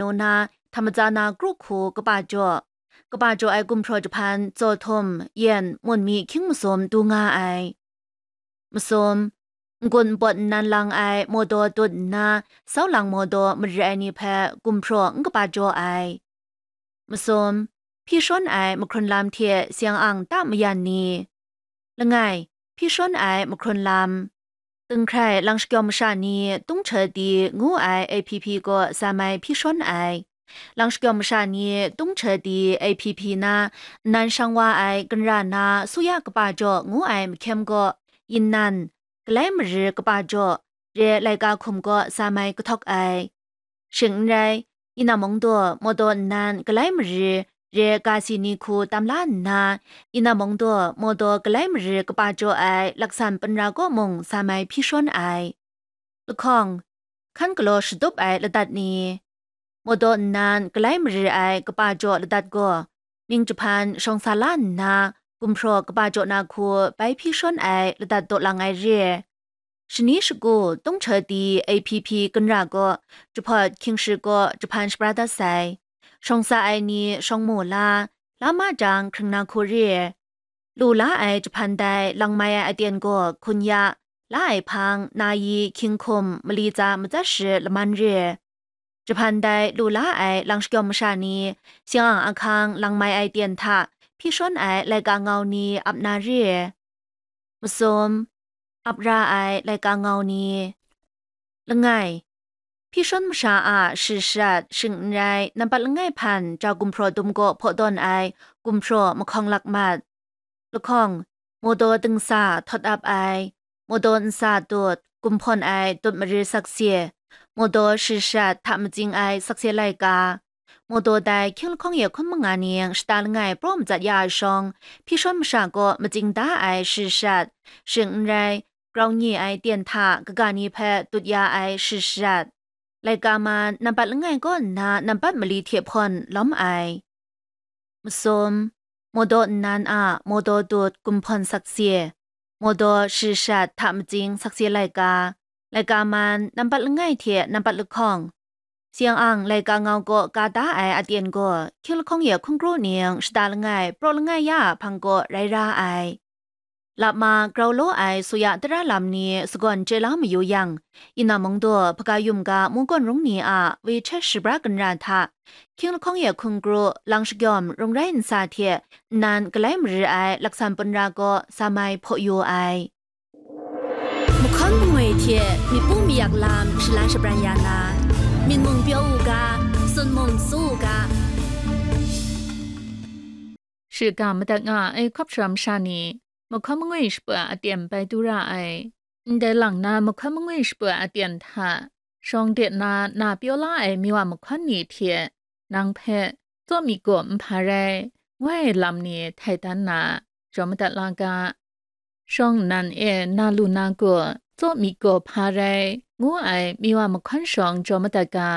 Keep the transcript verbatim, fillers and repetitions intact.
nau na, hta matsa na kru hku kaba jaw, kaba jaw ai gumhpraw jahpan, tsaw htum, yen, mun mi hkying masum du nga ai. Masum, n-gun n pawt nnan lang ai mawdaw tut nna, sau lang mawdaw mari ai ni hpe gumhpraw n kaba jaw ai. Masum, hpyi shawn ai mahkrun lam hte seng-ang ta mayan ni. Langai, hpyi shawn ai mahkrun lam. Tinghkrai lang shakyawm masha ni Tung Hta Di ngu ai A P P gaw sam ai hpyi shawn ai. Lang shakyawm masha ni Tung Hta Di A P P na nnan shang wa ai Ganra na Suya Kaba Jaw ngu ai mahkyem gaw Yinnan, Galai Mari Kaba Jaw, re laika hkum gaw sam ai kahtawk ai. Shing n rai, Yinam Mungdaw mawdaw nnan Galai Mari re ga si ni hku tam la nna, Yinam Mungdaw mawdaw Galai Mari Kaba Jaw ai laksan panra kaw mung sam ai hpyi shawn ai. Lahkawng, hkan galaw shatup ai ladat ni, mawdaw nnan Galai Mari ai Kaba Jaw ladat gaw, mying jahpan shawng sa la nna, gumhpraw kaba jaw na hku bai hpyi shawn ai ladat daw lang ai re. Shani shagu Tung Hta Di A P P Ganra gaw, jahpawt hkying shik gaw jahpan shabra dat sai. Shawng sa ai ni shawng mu la, la ma jang hkring na hku re. Lu la ai jahpan dai lang mai ai aten gaw hkun ya, la ai hpang, na yi, hkying hkum, mali tsa matsat shi laman re. Jahpan dai lu la ai lang shakyawm masha ni, seng-ang ahkang lang mai ai ten hta hpyi shawn ai laika ngau ni ap na re. Masum, ap ra ai laika ngau ni. Langai, hpyi shawn masha a shi shat, shing n rai, nampat langai hpan ja gumhpraw dum gaw hpaw tawn ai gumhpraw mahkawng lak mat. Lahkawng, mawdaw dingsa htawt ap ai, mawdaw nsa tut, gumhpawn ai tut mari sakse, mawdaw shi shat hta matsing ai sakse laika, mawdaw dai hkying lahkawng ye hkun manga ning shata langai praw matsat ya ai shawng, hpyi shawn masha kaw matsing da ai shi shat, shing n rai, grau nye ai ten hta kaga ni hpe tut ya ai shi shat, laika man nampat langai kaw nna nampat mali hte hpawn lawm ai. Masum, mawdaw nnan a mawdaw tut gumhpawn sakse, mawdaw shi shat hta matsing sakse laika, laika man nampat langai hte nampat lahkawng, seng-ang laika ngau kaw ka da ai aten gaw, hkying lahkawng ye hkungkru ning shata langai, praw langai ya a hpang kaw rai ra ai. Lap ma grau law ai suya tara lam ni sagawn chye la mayu yang, Yinam Mungdaw, Hpaga Yum ga, Mungkawn Rung ni a WeChat shabra ganra hta, hkying lahkawng ye hkungkru, lang shakyawm, rung rai nsa hte nnan galai mari ai laksan punra kaw sa mai hpaw yu ai. Mahkawn mangwi hte myit pu mayak lam shalan shabran ya na, myit mung pyaw u ga, sun mung tsu u ga. Shiga madat nga ai hkawp sara masha ni, mahkawn mangwi shapra aten bai du ra ai. Ndai lang na mahkawn mangwi shapra aten hta, shawng de na, na pyaw la ai miwa mahkawn ni hte, nang hpe, tsaw myit gaw n hpa rai, ngu ai lam ni htai dan na, jaw madat la ga. Shawng nnan e na lu na gaw, tsaw myit gaw hpa rai, ngu ai miwa mahkawn shawng jaw madat ga.